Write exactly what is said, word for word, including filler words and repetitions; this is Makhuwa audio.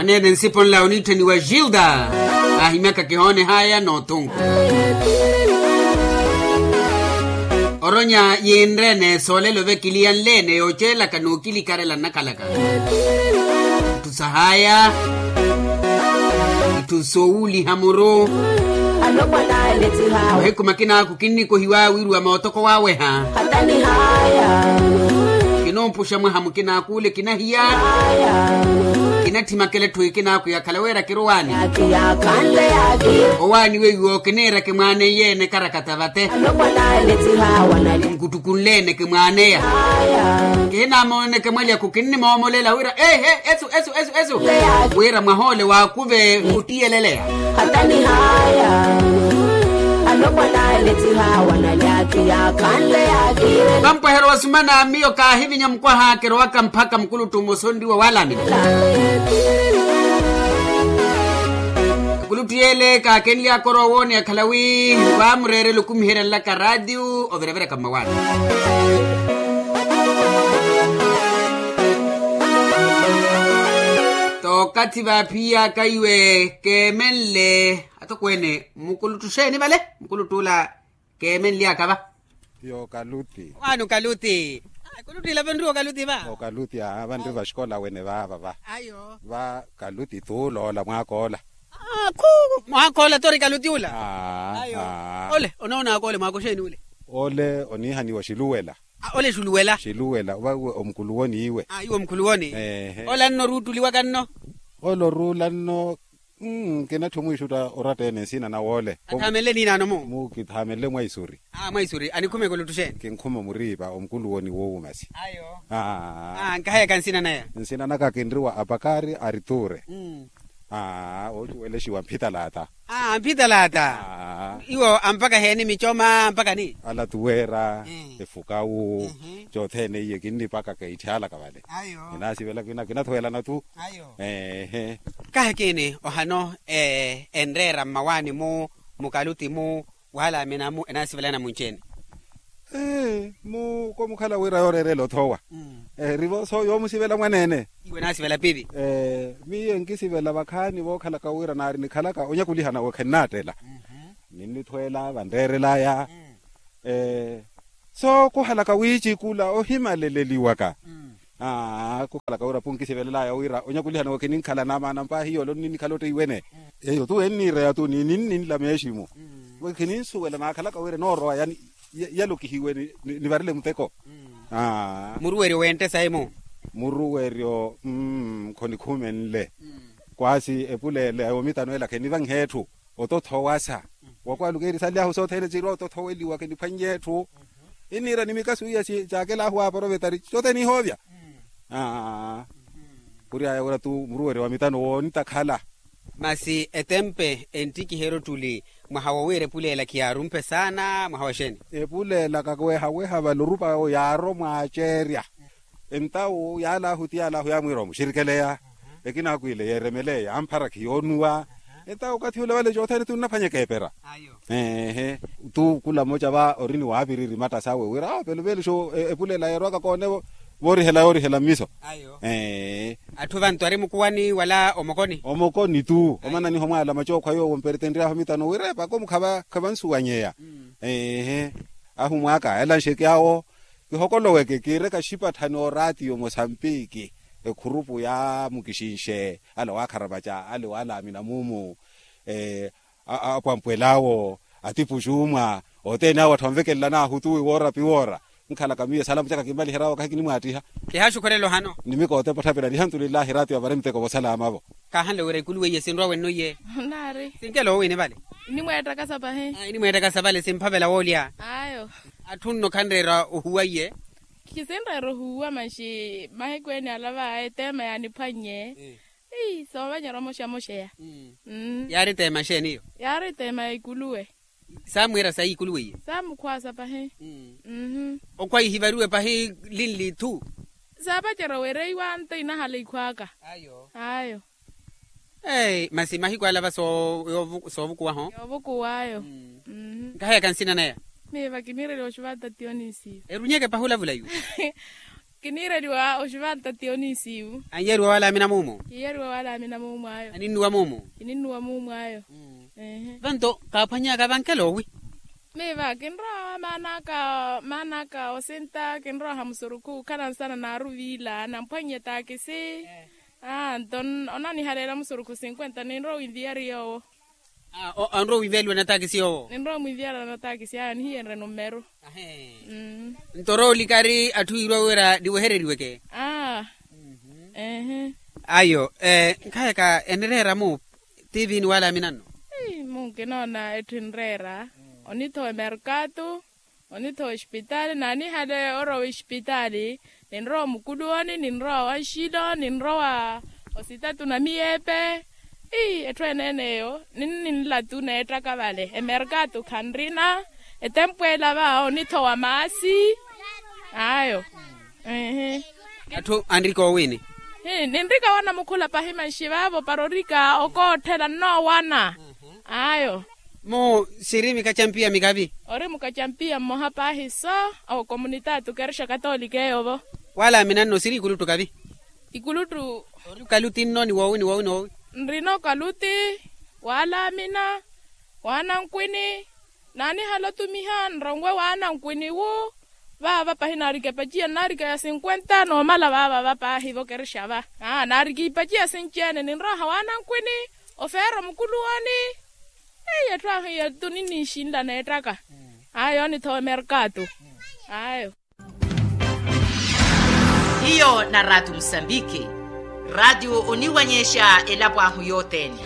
Neene nsipo nla oniitthaniwa gilda, ahimyaka kihoonehaya n'othunku. Oronya yinreene soolelo vekiliya nleene yooceelaka n'okilikarela nnakhalaka. Itthu sahaya, itthu soowuuliha muru. Mahiku makinaaku kinnikohiwa wiiriwa mootoko waaweha. Kinoopuxa mwaha mukinaaku ule kinahiya. Kinatthimaka eletthu ekinaaku yakhala wira kirowaani. Owaani weiwo kiniira kimwaaneiye ene karakata vate. Nkuttukunleene kimwaaneya. Kihinamooneke mwalyaku kinnimoomolela wira ehe esu esu esu esu. Wira mwaha ole waakuve ottiyeleleya. Vampwehero wa sumana miyo kaahivinya mukwaha kirowaka mpakha mukuluttu mmosa onriwa walamina. Ekuluttu yeele kaakenlyaka orowa owoone akhala wi vaamureerela okumiherya nlaka raatiyu overeveraka mmawaani. Tookathi vaaphiyaka iwe keemenle atokweene mukuluttu xeeni vale mukuluttu ola keemenlyaka va. Yo kaluti. Waani okaluti? Kulutti ilapo enriwa okaluti va. Okaluti aa vanri vaxikola wene vaava va. Ayo va. Kaluti tuula ola mwaakoola. Khu mwaakoola tori kaluti ula. Ayo. Ole onoonaka ole mwaaka oxeeni ule? Ole oniihaniwa xiluwela. Ole xiluwela. Xiluwela uva iwe omukuluwoni iwe. Iwe omukuluwoni. Ole anno oruuttuliwaka nno? Ole oruula nno. Kinatthi omwiixutta oratta-ene nsina nawe ole. Athaamenle niinaano mu? Mukithaamenle mwaisuri. Mwaisuri anikhuma ekuluttu xeeni? Kinkhuma omuriipa omukuluwoni woowu masi. Ayo. Nkaheyaka nsina naya? Nsina naka kinriwa apakari arituure. Oocuwelexiwa mphitalaata. Mphitalaata. Iwo ampaka heeni micoma ampaka ni? Alatuweera efukawu. Cothene iye kinnipakaka itthyaalaka vale. Ayo. Kinaasivela kina kinathuwelana tu. Ayo. Eehe. Kahi kiini ohano enreera mmawaani-mu mukaluti-mu waalaamina-mu enaasivelana munci-ene? Mu komukhala wira yooreerela othowa. Erivo so yoomusivela mwaneene. Iwe enaasivela pivi. Miyo enkisivela vakhaani vookhalaka wira naari nikhalaka onyakulihana we khennaattela. Ninnithweela vanreerelaya. So khuhalaka wiicikula ohimaleleliwaka. Khuhalaka wira phu nkisivelelaya wira onyakulihana we khininkhala namaana mpaahi yoole onninikhala otteiwene. Eyo tu enniireya tu ni ninninla meeximu. We khininsuwela naakhalaka wira enoorowa yalokihiwe nivarile muteko. Muruweryo wente sayi-mu? Muruweryo. Khonikhumenle. Kwaasi epuleela yomitano ela khenivanhe etthu. Otothowasa. Wakwaluka eri sanly'ahu sothene sirwa otothoweliwa kiniphwannye etthu. Inniira ni mikasu iya caakel'ahu aprovetari cothene ihoovya. Aa. Khury'aya wira tu muruweryo wa mitano woonitakhala. Masi etempe enttikiheryo ottuli mwaha wowiira epuleela khiyaarumpe saana mwaha wa xeeni? Epuleela kawehaweha vale orupa yaaro mwaaceerya. Entawu yaal'ahu ti yaal'ahu yaamwiira omuxirikeleya. Ekina akwiile yeeremeleya yaamphara khiyoonuwa. Entawu okathi ule vale cothene ti onnaphwanyeka epera. Eehe. Tu khula mmoca va ori ni waapiriri matta sawe wira awo pelo veeluxa epuleela yeerowaka koone. Voorihela yoorihela mmiso. Ee. Atthu vantu ari mukuwani wala omokoni? Omokoni tu omananiha omwaala macookhwa yoowo mperetenry'ahu mitano wira epaka omukha khavansuwanyeya. Eehe. Ahumwaaka elanxeke awo. Kihokoloweke kiireka xipatthani oraatiyo mosampiki. Ekhurupu ya mukixinxe ale waakharapaca ale waalaamina muumu. Apwampwel'awo atipuxuumwa othene awo atthu anvekelelana ahutuwi woora piwoora. Nkhalaka miyo esalamu caka kimmaliherya awo kahi kinimwaattiha. Kihaaxukhurela ohano. Nimikoote potthaperani alhamdulillahi raatiyo avare muteko vosalama vo. Kaahanle wira ikulu weiye sinrwa wenno iye? Naari. Sinkela owiini vale? Inimweettakasa pahi. Inimweettakasa vale simphavela woolya. Ayo. Atthu nno khanreera ohuwa iye? Kisinreera ohuwa maxi mahiku ene alava eteema yaaniphwannye. Soovanyerya omoxamoxeya. Yaari teema xeeni iyo? Yaari teema ya ikuluwe. Saamwiira sayi ikuluwe iyo? Saamukhwaasa pahi. Okhwa ihivariwe pahi linli ithu. Saapacerya wereiwa nto inahala ikhwaaka. Ayo. Masi mahiku alava soovukuwaho? Yoovukuw'ayo. Nkaheyaka nsina naya? Miyo vakiniireliwa oxuva ata tionisiyo. Erunyeke pahi olavula iwe? Kiniireliwa oxivantatiyo ni isiivu. Anyeriwa wala amina muumu. Kiyeriwa wala amina muumu ayo. Aninnuwa muumu. Kininnuwa muumu ayo. Vanto kaaphwanyaka vankela owi. Miiva kinrowa maanaka maanaka osinta kinrowa hamusurukhu khalansana naaruviila namphwannye taakisi. Aa nto onanihaleela musurukhu sinkwenta ninrowa winviyari yoowo. Anrowa winviyaliwa na taakisi yoowo. Ninrowa mwinviyala na taakisi ayo nihiyenre nummeru. Nto rowa olikari atthu wiiriwa wira niwehereriweke. Aa ehe. Ayo. Nkhayaka enireera mu tiivini wala aminanno. Munkinoona etthu enreera onithowa emerkatu. Onithowa oxipitaali naanihale orowa oxipitaali. Ninrowa omukuluwoni ninrowa wanxilo ninrowa ositatu na miyeepe. Ii etthu eneen'eyo ninninlatu neettaka vale emerkatu khanrina. Etempu ela va onithowa maasi. Ayo. Ehe. Atthu anrika owiini. Ninrika wana mukhula pahi manxi vaavo para orika okootthela nnoowana. Ayo. Mu siri mikacampiya mikavi. Ori mukacampiya mmoha paahi so. Okomunitaati okerexa katolika eyo vo. Wala aminanno siri ikuluttu kavi. Ikuluttu. Ori okaluti nno ni woowi ni woowi ni woowi. Nrina okaluti wala amina. Waanankwini. Naanihala otumiha nrongwe waanankwini wu. Vaava pahi naarika epaciya nnaarika ya sinkwenta noomala vaava va paahi vokerexa va. Naarika ipaciya sinci-ene ninroha waanankwini. Ofeera omukuluwoni. Eyi etthu ahu iyetu ninninxinla neettaka. Ayo onithowa emerkatu. Ayo. Hiyo na raatiyo musambiki. Raatiyo oniwanyexa elapo ahu yothene.